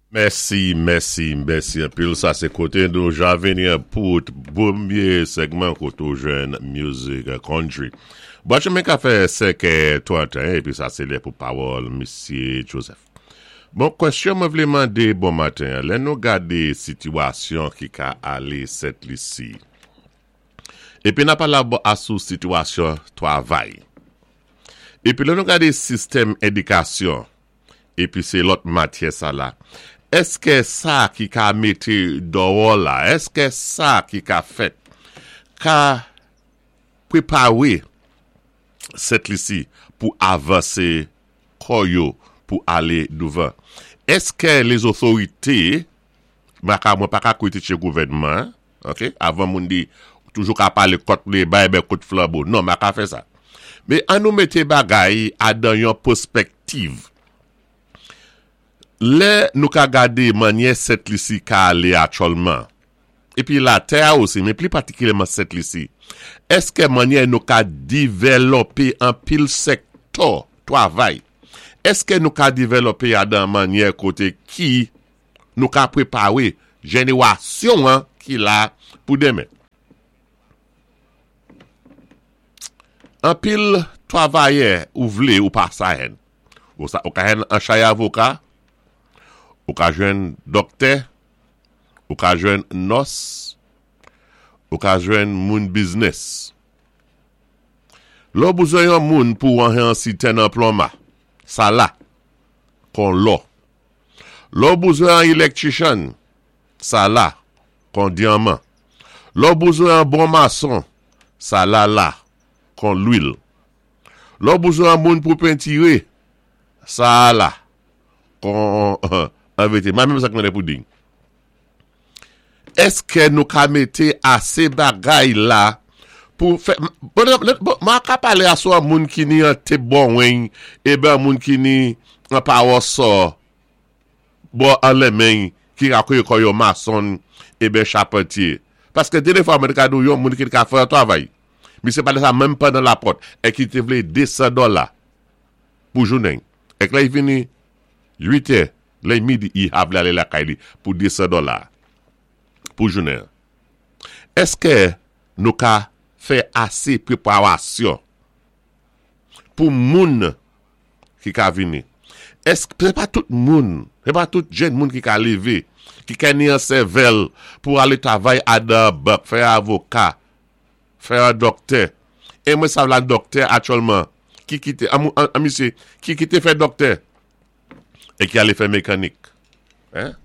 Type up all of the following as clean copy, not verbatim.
Mèsi mèsi mèsi anpil sa sé koté nou ja vini an pou pwémyé sègman koté ou jwenn music country. Bwa chemen ka fè 5 è 31 épi sa sé lè pou pawòl misye Joseph. Bon kwèsyon mwen vlé mandé bon maten an lè nou gadé sitiwasyon ki ka alé Sent Lisi épi na pale a sou sitiwasyon twavay épi lè nou gadé sistèm édikasyon Epi se lòt matyè sa la. Èskè sa ki ka mete dòwò la, èskè sa ki ka fèt ka prepare Sent Lisi pou avanse kò yo pou ale douvan? Èskè lezotorite, mwen ka mwen pa ka kritike gouvènman an, ok, avan moun di toujou ka pale kòt le bay bè kout flanbo, non mwen ka fè sa. Men an nou mete bagay a dan yon pwospèktiv. Lè nou ka gade mannyè Sent Lisi ka ale atyòlman, epi latè a osi, men pli patikilyèman Sent Lisi, èskè mannyè nou ka divèlòpe anpil sèktò twavay, èskè nou ka divèlòpe a dan mannyè kote ki nou ka prepare jenerasyon an ki la pou demen? Anpil twavayè ou vle ou pa sa èn. Ou sa ou ka jwenn an chay avoka, ou ka jwenn dòktè, ou ka jwenn nòs, ou ka jwenn moun biznès. Lè w bezwen yon moun pou an an sitèn an plonma, sa la, kon lò. Lè w bezwen an elektrichann, sa la, kon dyanman. Lè w bezwen an bon mason, sa la la, kon lwil. Lè w bezwen an moun pou pentire, sa a la, kon an vete. Ma menm sa k mande pouding. Èske nou ka mete ase bagay la pou fè, bon, ma ka pale asou an moun ki ni an tep bon weny, e ben moun ki ni an pawòsò. Bò anlèmeny ki ka koye kò yo mason eben chapantye. Paske dene fwa mwen te ka di w yon moun ki te ka fè yon travay. Misye pale sa menm pandan lapòt e ki te vle 200 dòla pou jounen. Ek lè y vini 8 è, lè y midi y ha vle ale lakay li pou 200 dòla pou jounen an. Eske nou ka fè ase preparasyon pou moun ki ka vini. Èske se pa tout moun, se pa tout jenn moun ki ka leve, ki ka ni an sèvèl pou ale travay a dan bank, fè avoka, fè an dòktè. E mwen sav la dòktè aktyèlman ki kite, an an misye, ki kite fè dòktè e ki ale fè mekanik. Hein?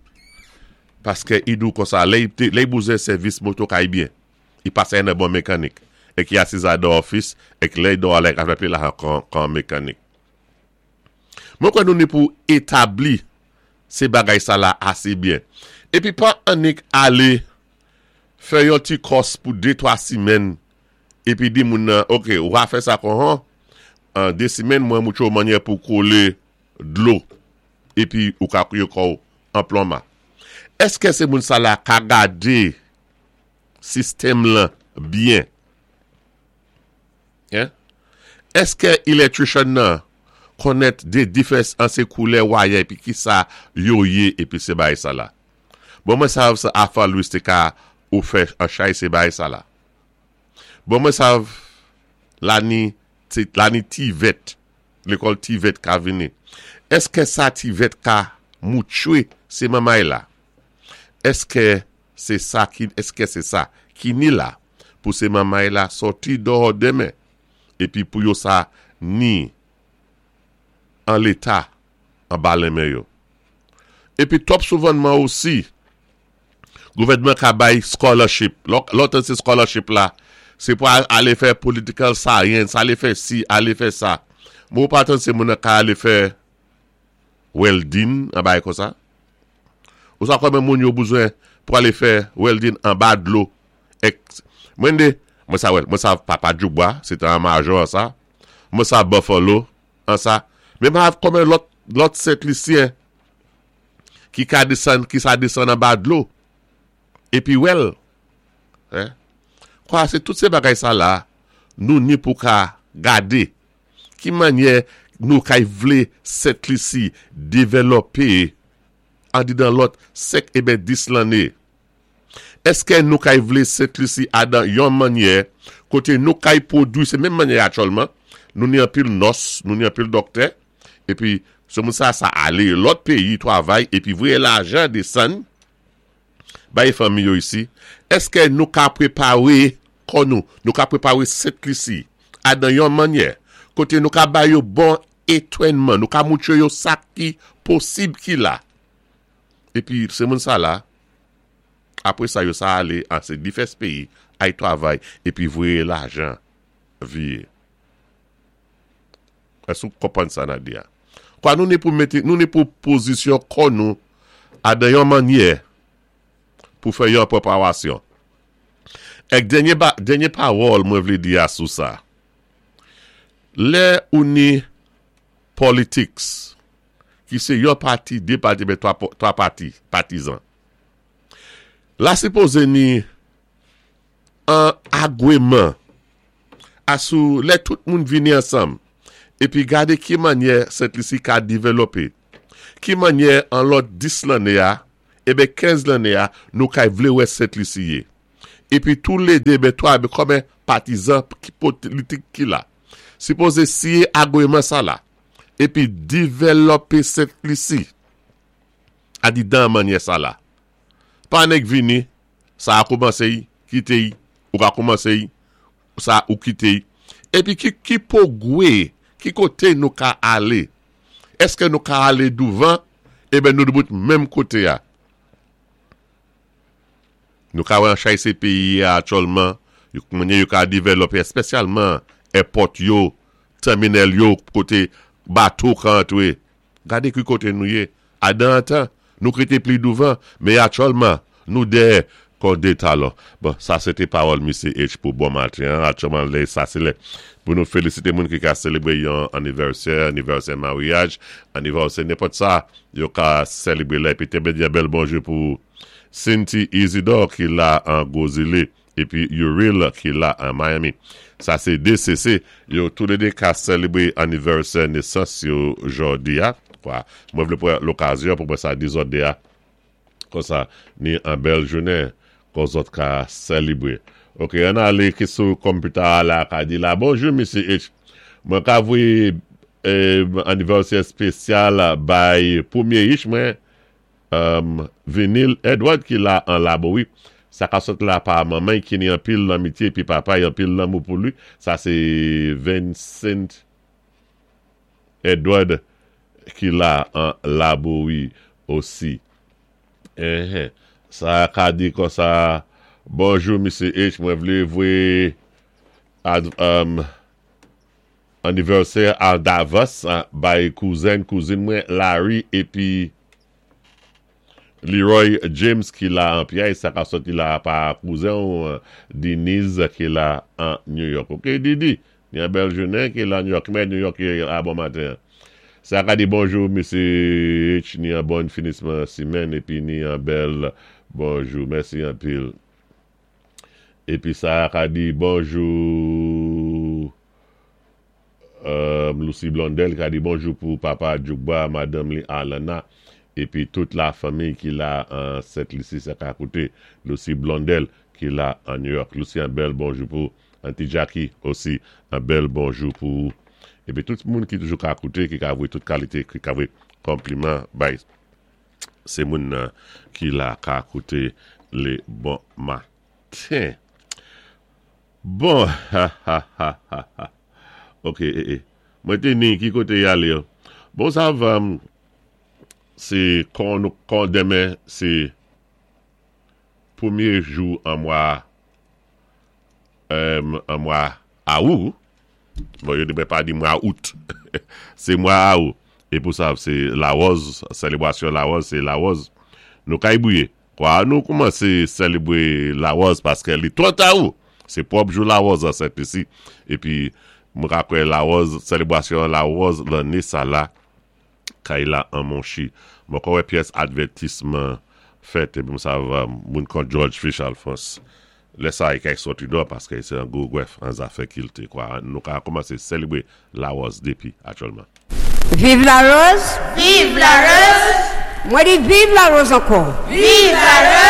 Paske i di w konsa, lè i bouzen sèvis moto kay byen. I pase nan bon mekanik e ki asiz a dan ofis e ki lè do alè ka fè pli lajan kan mekanik. Mwen kwè nou ni pou etabli se bagay sa la ase byen. Epi pa annik ale fè yon ti kòs pou de twa simenn epi di moun nan ok ou va fè sa kon hon an de simenn mwen moutre w mannyè pou kole dlo epi ou ka kouye kò w an plonma. Eske se moun sa la ka gade sistèm lan byen? Hein? Eske electrician nan konnèt de difès an se koulè wayè epi kisa yo ye epi se bagay sa la? Bon mwen sav sa Arthur Louis te ka ou fè an chay se bagay sa la. Bon mwen sav lani lani TVET lekòl TVET ka vini. Eske sa TVET ka moutchwe se manmay la? Eske Se sa ki eske se sa ki ni la pou se manmay la sòti dòhò demen epi pou yo sa ni an leta anba lenmen yo. Epi twòp souvànman osi gouvènman ka bay scholarship lè w tande se scholarship la se pou ale fè political science ale fè si ale fè sa men ou pa tande se moun nan ka ale fè welding an bagay konsa. Ou sa konbyen moun yo bezwen pou ale fè welding anba dlo ek mwen de mwen sa wèl mwen sa papa djoubwa se te an majò an sa mwen sa buffalo an sa men mwen konbyen lòt lòt sentlisyen ki ka desann ki sa desann anba dlo epi wèl hein kwa se tout se bagay sa la nou ni pou ka gade Ki mannyè nou kay vle Sent Lisi devèlòpe andidan lòt 5 eben 10 lanné? Èskè nou kay vlé Sent Lisi adan yon mannyè koté nou kay pwodwi sé menm mannyè aktyèlman nou ni anpil nòs, nou ni anpil dòktè épi sé moun sa sa alé lòt péyi twavay épi voyé lajan desann bay fanmi yo isi, èskè nou ka prépawé kò nou, nou ka prépawé Sent Lisi adan yon mannyè koté nou ka ba yo bon etwènman, nou ka moutwé yo sa ki posib ki la épi sé moun sa la Apre sa yo sa ale an se divès peyi ay travay epi voye lajan viye. Èske ou konprann sa na di a? Kwa nou ni pou mete, nou ni pou pozisyon kò nou a dan yon mannyè pou fè yon preparasyon. Èk dènye ba, dènye pawòl mwen vle di a sou sa. Lè ou ni politics ki se yon pati, de pati, oubyen 3 pati, patizan. La sipoze ni an agweman asou lè tout moun vini ansanm epi gade ki mannyè Sent Lisi ka divelope, ki mannyè an lòt 10 lanne a, eben 15 lanne a nou kay vle wè Sent Lisi ye. Epi tou le 2 eben 3 eben kòmen patizan ki politik ki la. Sipoze siye agweman sa la epi divelope Sent Lisi. A di dan mannyè sa la. Pa nèk vini, sa a koumanse y, kite y, ou ka koumanse y, sa ou kite y. Epi ki ki pogwe, ki kote nou ka ale? Eske nou ka ale douvan? Eben nou debout menm kote a. Nou ka wè an chay se peyi a aktyèlman, yo mannyè yo ka devèlope espesyalman èpòt yo, tèminèl yo kote bato ka antre. Gade ki kote nou ye. Adan antan, nou k rete pli douvan, men aktyèlman, nou dèyè kon de talon. Bon, sa se te pawòl Misye H pou bon maten an. Aktyèlman, lè sa se lè pou nou felisite moun ki ka selebre yon anivèsè, anivèsè maryaj, anivèsè nenpòt sa yo ka selebre la. Epi te vle di yon bèl bonjou pou Sinti Isidor ki la an Gwo Zile. Epi Uriel ki la an Miami. Sa se 2 CC, yo toulede ka selebre anivèsè nesans yo jòdi a. Kwa, mwen vle pran lokazyon pou mwen sa di zòt 2 a konsa ni an bèl jounen kon zòt ka selebre. Ok, ann ale ki sou konpita a la ka di la bonjou Misye H. Mwen ka voye anivèsè espesyal bay premye ich mwen Humm Vinil Edward ki la an labo wi sa ka sot la pa manman y ki ni anpil lanmitye epi papa y anpil lanmou pou li sa se Vincent Edward ki la an labo wi osi enhen sa ka di konsa bonjou misye H mwen vle voye humm Anniversaire a davans bay kouzen kouzin mwen Larry epi Leroy James ki la an pyay sa ka soti la pa kouzen w Denise ki la an New York ok Didi gen bèl jounen ki la New York ki mè New York ye la bon maten an sa ka di bonjou mesye H ni an bon finisman simèn epi ni an bèl bonjou mèsi anpil epi sa ka di bonjou. Lucie Blondel ka di bonjou pou papa Djougba, madanm li Arlana epi tout la fanmiy ki la an Sent Lisi sa ka koute Lucie Blondel ki la an New York. Lucie an bèl bonjou pou Auntie Jackie osi an bèl bonjou pou ou epi tout moun ki toujou ka koute ki ka voye tout kalite ki ka voye konpliman bay se moun nan ki la ka koute le bon maten. Bon hahahaha ok ee mwen te ni ki kote yale yo bon sa va se kon nou kon demen se premye jou an mwa an mwa awou bon yo te pa di mwa out se mwa awou e pou sa se lawòz selebrasyon lawòz se lawòz nou kay bouye Kwa nou koumanse selebre lawòz paske li twò ta ou! Se pwòp jou lawòz an Sent Lisi. Epi mwen ka kwè lawòz, selebrasyon lawòz lanne sa la kay la an Monchi. Mwen ko wè pyès advètisman fèt epi mwen sav moun kon Jòj Fich Alfons. Lè sa a kay sòti dò paske se an gwo grèf an zafè kilte. Kwa nou ka koumanse selebre lawòz depi aktyèlman. Viv la rose! Viv la rose! Mwen di viv Larose ankò. Viv Larose!